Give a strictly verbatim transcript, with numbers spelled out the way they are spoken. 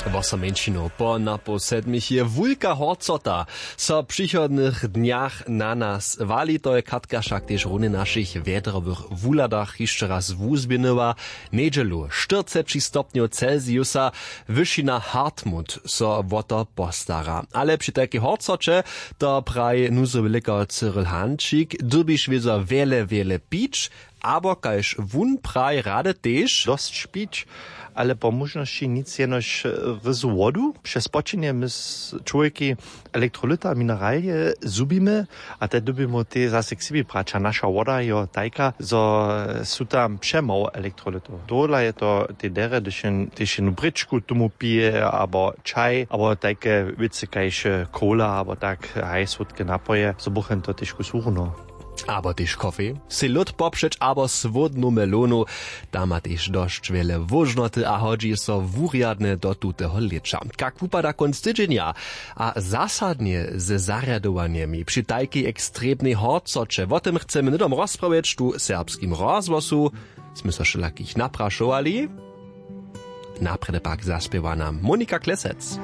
Wosomeńšinow po napoł sedmich je wulka horcota, so w přichodnych dnjach na nas wali. To je katka wšak tež runje w našich wjedrowych wuhladach hišće raz wuzběhnyła. Njedźelu štyrceći stopnjow celsiusa. Wyšina hartmut so wo to postara, ale při tajkej horcoće to praji nuzowy lěkar cyril hančik, dyrbiš wězo wjele wjele pić, abo kaž wón praji rady tež dosć pić, ale po móžnosći nic jenož ryzu wodu. Přez spočenje my z čłowjeki elektrolyta mineralije zhubimy, a te dyrbimy tej zase k sebi brać a naša woda jo tajka zo su tam přemało elektrolytow. Tohodla je to tej derje hdyž jen tež jenu brěčku tomu pije abo čaj abo tajke wěcy kaž cola abo tak, haj słódke napoje zo buchen to tež kus wuruno. Abo tež kofej, sej lód popřeć abo słódnu melonu. Ta ma tež dosć wjele wóžnoty a hodźi so wurjadnje do tuteho lěća. Kak wupada kónc tydźenja a zasadnje ze zarjadowanjemi při tajkej ekstremnej horcoće, wo tym chcemy hnydom rozprawjeć tu w serbskim rozhłosu. Smy so wšelakich naprašowali. Naprjedy pak zaspěwa nam monika klesec.